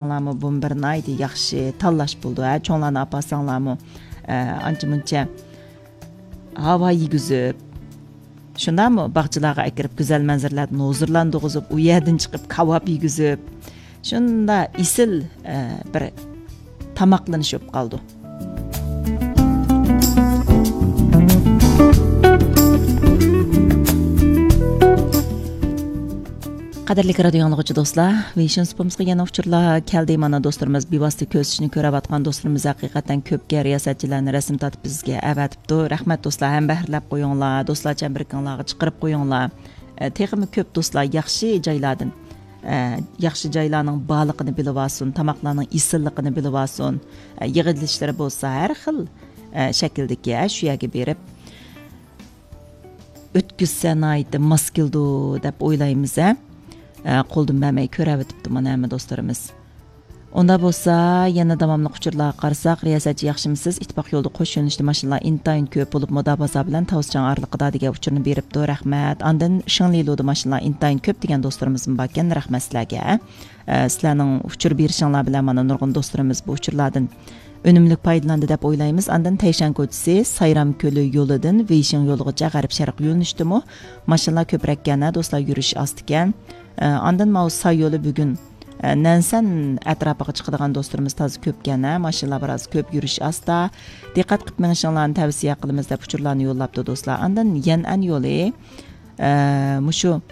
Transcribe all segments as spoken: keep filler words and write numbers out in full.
ئاپارساڭلارمۇ، بۇمۇ بىر ناھايىتى ياخشى تاللاش بولىدۇ، ھە، چوڭلارنى ئاپارساڭلارمۇ، ئە، ئانچە مۇنچە ھاۋا يېگۈزۈپ، شۇنداقمۇ، باغچىلارغا ئەكىرىپ، گۈزەل مەنزىرىلەردىن ھۇزۇرلاندۇرغۇزۇپ، ئۇ يەردىن چىقىپ كاۋاپ يېگۈزۈپ، شۇنداق ئېسىل، ئە، بىر تاماقلىنىش بولۇپ قالىدۇ. قەدىرلىك رادىيو ئاڭلىغۇچى دوستلار، ۋېيشىن سۇپىمىزغا يەنە ئۇچۇرلار كەلدى. مانا، دوستلىرىمىز بىۋاسىتە كۆرسىتىشنى كۆرۈۋاتقان دوستلىرىمىز ھەقىقەتەن كۆپكەن رىياسەتچىلەرنى رەسىم تارتىپ بىزگە ئەۋەتىپتۇ. رەھمەت دوستلار، ھەمبەھىرلەپ قويۇڭلار، دوستلار چەمبىرىكىڭلارغا چىقىرىپ قويۇڭلار. ئە، تېخىمۇ كۆپ دوستلار ياخشى جايلاردىن، ئە، ياخشى جايلارنىڭ بارلىقىنى بىلىۋالسۇن، تاماقلارنىڭ ئېسىللىقىنى بىلىۋالسۇن. ئە، يىغىلىشلىرى بولسا ھەر خىل، ئە، شەكىلدىكى، ئە، شۇ يەرگە بېرىپ ئۆتكۈزسە ناھايىتى ماس كېلىدۇ دەپ ئويلايمىز، ھە. ئە، قولدىن بەرمەي كۆرەۋېتىپتۇ مانا ھەممە دوستلىرىمىز. ئۇنداق بولسا، يەنە داۋاملىق ئۇچۇرلارغا قارىساق، رىياسەتچى ياخشىمۇسىز؟ ئىتتىپاق يولىدا قوش يۆنىلىشتە ماشىنىلار ئىنتايىن كۆپ بولۇپ، مۇدابا بازار بىلەن تاۋۇزچاڭ ئارىلىقىدا دېگەن ئۇچۇرنى بېرىپتۇ. رەھمەت. ئاندىن شىڭلىلۇدا ماشىنىلار ئىنتايىن كۆپ دېگەن دوستلىرىمىزمۇ باركەن. رەھمەت سىلەرگە. ئە، سىلەرنىڭ ئۇچۇر بېرىشىڭلار بىلەن مانا نۇرغۇن دوستلىرىمىز بۇ ئۇچۇرلاردىن ئۈنۈملۈك پايدىلاندى دەپ ئويلايمىز. ئاندىن تەيشەن كوچىسى، سايرام كۆلى يولىدىن ۋېيشىڭ يولىغىچە غەرب شەرق يۆنىلىشتىمۇ ماشىنىلار كۆپرەككەن، ھە، دوستلار، يۈرۈش ئاستىكەن. ئە، ئاندىن ماۋۇ ساي يولى بۈگۈن، ئە، نەنسەن ئەتراپىغا چىقىدىغان دوستلىرىمىز تازا كۆپكەن، ھە، ماشىنىلار بىراز كۆپ، يۈرۈش ئاستا. دىققەت قىلىپ مېڭىشىڭلارنى تەۋسىيە قىلىمىز دەپ ئۇچۇرلارنى يوللاپتۇ دوستلار. ئاندىن يەنئەن يولى، ئە، مۇشۇ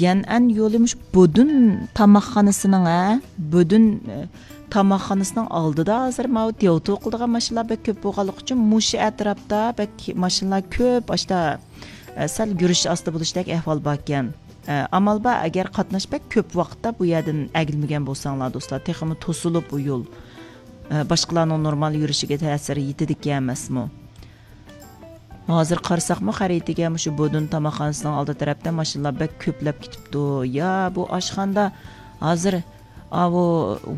يەنئەن يولى مۇشۇ بودۇن تاماقخانىسىنىڭ، ھە، بودۇن، ئە، تاماقخانىسىنىڭ ئالدىدا ھازىر ماۋۇ دياۋتۇ قىلىدىغان ماشىنىلار بەك كۆپ بولغانلىقى ئۈچۈن مۇشۇ ئەتراپتا بەك ماشىنىلار كۆپ، ئاشتا، ئە، سەل يۈرۈش ئاستا بولۇشتەك ئەھۋال باركەن. ئە، ئامال بار، ئەگەر قاتناش بەك كۆپ ۋاقىتتا بۇ يەردىن ئەگىلمىگەن بولساڭلار دوستلار، تېخىمۇ توسۇلۇپ ئۇ يول، ئە، باشقىلارنىڭ نورمال يۈرۈشىگە تەسىر يېتىدىكەن ئەمەسمۇ؟ ھازىر قارىساقمۇ خەرىتىگە مۇشۇ بودۇن تاماقخانىسىنىڭ ئالدى تەرەپتە ماشىنىلار بەك كۆپلەپ كېتىپتۇ. يا بۇ ئاشخانىدا ھازىر ئاۋۇ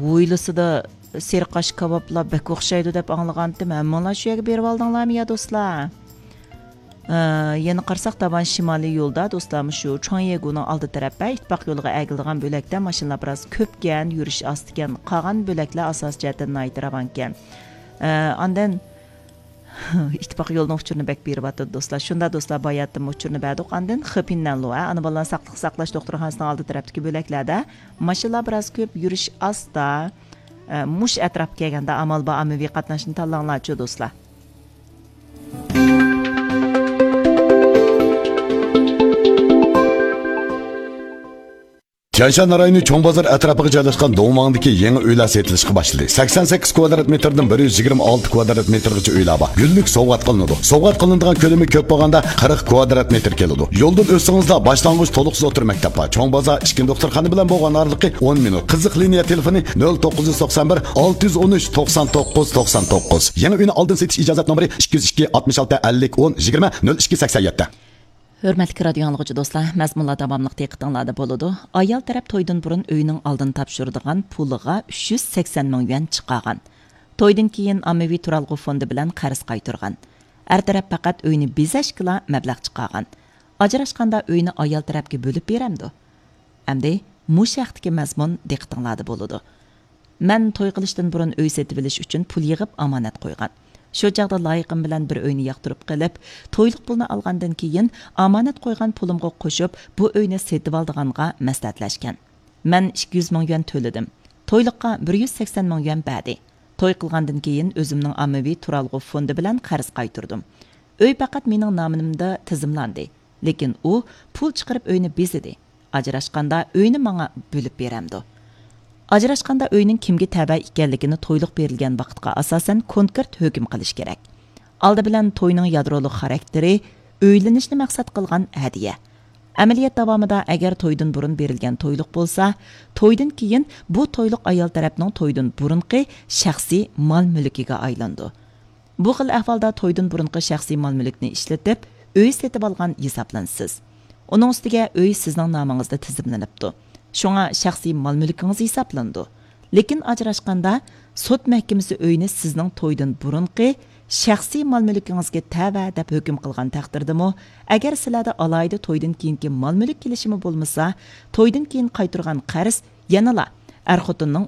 ھويلىسىدا سېرىق ئاش كاۋاپلار بەك ئوخشايدۇ دەپ ئاڭلىغانتىم. ھەممىڭلار شۇ يەرگە بېرىۋالدىڭلارمۇ يا دوستلار؟ ئە، يەنە قارىساق داۋان شىمالىي يولدا دوستلار مۇشۇ چۇاڭيېگۇنىڭ ئالدى تەرەپ ۋە ئىتتىپاق يولىغا ئەگىلىدىغان بۆلەكتە ماشىنىلار بىراز كۆپكەن، يۈرۈش ئاستىكەن. قالغان بۆلەكلەر ئاساسىي جەھەتتىن ناھايىتى راۋانكەن. ئە، ئاندىن ئىتتىپاق يولىنىڭ ئۇچۇرىنى بەك بېرىۋاتىدۇ دوستلار. شۇنداق دوستلار، باياتتىنمۇ ئۇچۇرنى بەردۇق. ئاندىن خېپىننەنلۇ، ئانا بالىلارنى ساقلىق ساقلاش دوختۇرخانىسىنىڭ ئالدى تەرەپتىكى بۆلەكلەردە ماشىنىلار بىراز كۆپ، يۈرۈش ئاستا. ئە، مۇشۇ ئەتراپقا كەلگەندە ئامال بار ئاممىۋى قاتناشنى تاللاڭلارچۇ دوستلار. تيەنشان رايونى چوڭ بازار ئەتراپىغا جايلاشقان دوڭماڭدىكى يېڭى ئۆيلەر سېتىلىشقا باشلىدى. سەكسەن سەككىز كۋادرات مېتىردىن بىر يۈز يىگىرمە ئالتە كۋادرات مېتىرغىچە ئۆيلەر بار. گۈللۈك سوۋغات قىلىنىدۇ. سوۋغات قىلىنىدىغان كۆلىمى كۆپ بولغاندا قىرىق كۋادرات مېتىر كېلىدۇ. يولدىن ئۆتسىڭىزلا باشلانغۇچ تولۇقسىز ئوتتۇرا مەكتەپ بار. چوڭ بازار ئىككىنچى دوختۇرخانا بىلەن بولغان ئارىلىقى ئون مىنۇت. قىزىق لىنىيە تېلېفونى نۆل توققۇز يۈز توقسان بىر، ئالتە يۈز ئون ئۈچ، توقسان توققۇز، توقسان توققۇز. يېڭى ئۆينى ئالدىن سېتىش ئىجازەت نومۇرى ئىككى يۈز ئىككى، ئاتمىش ئالتە، ئەللىك، ئون، يىگىرمە، نۆل ئىككى، سەكسەن يەتتە. ھۆرمەتلىك رادىيو ئاڭلىغۇچى دوستلار، مەزمۇنلار داۋاملىق دىققىتىڭلاردا بولىدۇ. ئايال تەرەپ تويدىن بۇرۇن ئۆينىڭ ئالدىن تاپشۇرىدىغان پۇلىغا ئۈچ يۈز سەكسەن مىڭ يۈەن چىقارغان. تويدىن كېيىن ئاممىۋى تۇرالغۇ فوندى بىلەن قەرز قايتۇرغان. ئەر تەرەپ پەقەت ئۆينى بېزەشكىلا مەبلەغ چىقارغان. ئاجراشقاندا ئۆينى ئايال تەرەپكە بۆلۈپ بېرەمدۇ؟ ئەمدى مۇشۇ ھەقتىكى مەزمۇن دىققىتىڭلاردا بولىدۇ. مەن توي قىلىشتىن بۇرۇن ئۆي سېتىۋېلىش ئۈچۈن پۇل يىغىپ ئامانەت قويغان. شۇ چاغدا لايىقىم بىلەن بىر ئۆينى ياقتۇرۇپ قېلىپ، تويلۇق پۇلنى ئالغاندىن كېيىن، ئامانەت قويغان پۇلۇمغا قوشۇپ، بۇ ئۆينى سېتىۋالىدىغانغا مەسلىھەتلەشكەن. مەن ئىككى يۈز مىڭ يۈەن تۆلىدىم. تويلۇققا بىر يۈز سەكسەن مىڭ يۈەن بەردى. توي قىلغاندىن كېيىن، ئۆزۈمنىڭ ئاممىۋى تۇرالغۇ فوندى بىلەن قەرز قايتۇردۇم. ئۆي پەقەت مېنىڭ نامىمدا تىزىملاندى. لېكىن ئۇ پۇل چىقىرىپ ئۆينى بېزىدى. ئاجراشقاندا ئۆينى ماڭا بۆلۈپ بېرەمدۇ؟ ئاجراشقاندا ئۆينىڭ كىمگە تەۋە ئىكەنلىكىنى تويلۇق بېرىلگەن ۋاقىتقا ئاساسەن كونكرېت ھۆكۈم قىلىش كېرەك. ئالدى بىلەن توينىڭ يادرولۇق خاراكتېرى ئۆيلىنىشنى مەقسەت قىلغان ھەدىيە. ئەمەلىيەت داۋامىدا ئەگەر تويدىن بۇرۇن بېرىلگەن تويلۇق بولسا، تويدىن كېيىن بۇ تويلۇق ئايال تەرەپنىڭ تويدىن بۇرۇنقى شەخسىي مال مۈلكىگە ئايلىنىدۇ. بۇ خىل ئەھۋالدا تويدىن بۇرۇنقى شەخسىي مال مۈلۈكنى ئىشلىتىپ، ئۆي سېتىۋالغان ھېسابلىنىسىز. ئۇنىڭ ئۈستىگە ئۆي سىزنىڭ نامىڭىزدا تىزىملىنىپتۇ. شۇڭا شەخسىي مال مۈلكىڭىز ھېسابلىنىدۇ. لېكىن ئاجراشقاندا سوت مەھكىمىسى ئۆينى سىزنىڭ تويدىن بۇرۇنقى شەخسىي مال مۈلكىڭىزگە تەۋە دەپ ھۆكۈم قىلغان تەقدىردىمۇ، ئەگەر سىلەردە ئالاھىدە تويدىن كېيىنكى مال مۈلۈك كېلىشىمى بولمىسا، تويدىن كېيىن قايتۇرغان قەرز يەنىلا ئەر-خوتۇننىڭ